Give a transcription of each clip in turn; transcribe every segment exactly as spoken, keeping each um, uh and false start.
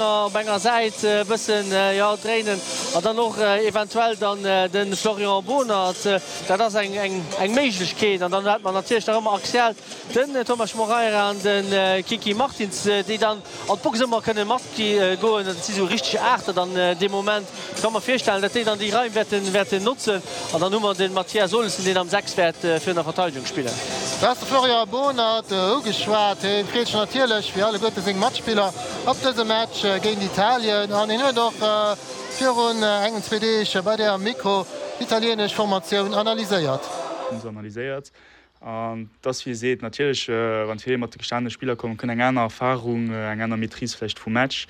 Op enger Säit e bëssen, jo, dréinen an dann och eventuell dann de Florian Bohnert. Dat ass eng, eng, eng Méiglechkeet. An dann hätt mer natierlech nach ëmmer axial den Thomas Moreira an de Kiki Martins, déi dann an d'Box ëmmer kënne matgoen. Dat si sou richteg Aachter dann dee Moment. Ech ka mer virstellen, datt déi dann déi Raim wäerten, wäerten notzen. An dann hu mer de Mathias Olesen, deen am Sechs wäert virun der Verteidegung spillen. Du has de Florian Bohnert ugeschwat. Hie freet sech natierlech, wéi alleguerte seng Matspiller, op dëse Match géint Italien an hien huet och virun engem, zwee Deeg bei der am Mikro d'italienesch Formatioun analyséiert. Hunn se analyséiert an et ass wéi e seet, natierlech wann d'Feeler mat de gestanene Spiller kommen, kënnt eng aner Erfarung, eng aner Maîtrise vläicht vum Match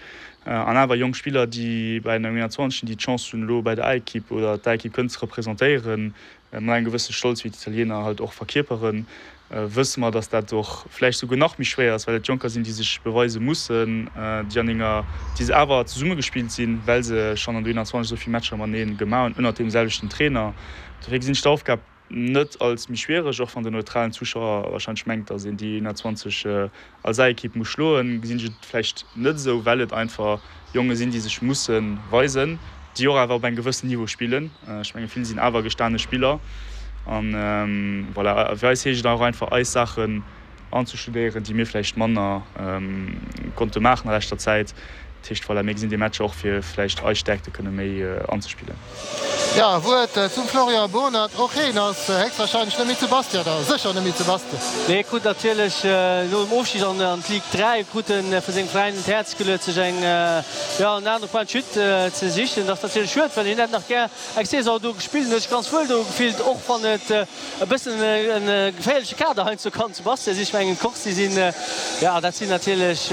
an awer jonk Spiller, déi bei den U einundzwanzeg déi d'Chance hunn elo bei der A-Ekipp oder d'A-Ekipp kënnen ze representéieren, mat engem gewësse Stolz, wéi d'Italiener halt och verkierperen, wësse mer, datt dat och vläicht souguer nach méi schwéier ass, well et Jonker sinn, déi sech beweise mussen, déi an enger, déi awer zesummegespillt sinn, well se schonn an der U einundzwanzeg esou vill Matcher matenee gemaach hunn, ënnert deem selwechten Trainer. Dofir gesinn ech d'Aufgab net als méi schwiereg, och wann den neutralen Zuschauer warscheinlech mengt, datt een déi einundzwanzeg als A-Ekipp muss schloen, gesinn ech et vläicht net esou, well et einfach Jonge sinn, déi sech musse weisen, déi och awer op engem gewëssen Niveau spillen. Ech menge vill sinn awer gestane Spiller. An voilà, fir eis heescht et och einfach eis Saachen anzestudéieren, déi mir vläicht manner konnte maachen a leschter Zäit. Dat heescht, voilà, mir gesinn dee Match och fir vläicht eis Stäerkte kënne méi anzespillen. Jo, e Wuert zum Florian Bohnert, Och heen ass héchstwahrscheinlech net méi zu Bastia, oder sécher net méi zu Bastia. Nee, hie krut natierlech no dem Ofstig an d'Ligue dräi krut en vu sengem Veräin un d'Häerz geluet, sech eng, jo, en anere Point de chute ze sichen. Dat ass natierlech schued, well hien hätt nach gär eng Saison do gespillt an huet sech ganz wuel do gefillt, och wann et e bëssen e geféierleche Kader heiansdo kann zu Bastia sinn. Ech mengen, d'Corse, déi sinn, jo, dat sinn natierlech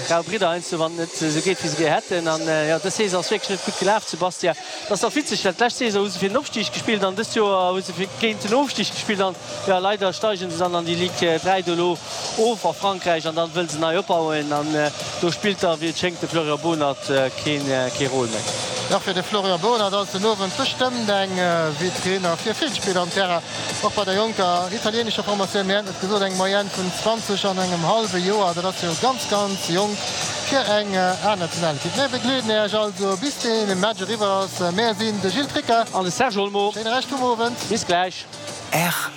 rau Bridder heiansdo, wann et net esou geet, wéi se gär hätten. An, jo, dës Saison ass wierklech net gutt gelaf zu Bastia. Et ass nach witzeg, well d'lescht Saison hu se fir den Opstig gespillt an dëst Joer hu se géint den Ofstig gespillt. An, jo, leider steigen se dann an déi Ligue dräi do elo of a Frankräich an dann wëlle se nei opbauen. An do spillt da, wéi et schéngt, de Florian Bohnert keen, kee Rôle méi. Och fir de Florian Bohnert ass den Owend bestëmmt eng Vitrine a fir vill Spiller am Terrain, och bei der jonker italienescher Formatioun. Mir haten et gesot, eng Moyenne vun zwanzeg an engem hallwe Joer, dat ass jo ganz, ganz jonk fir eng A-Nationalekipp. Mir begleeden Iech also bis dee Match eriwwer ass. Mär sinn de Gilles Tricca an de Serge Olmo. Schéine Rescht vum Owend. Bis gläich. R.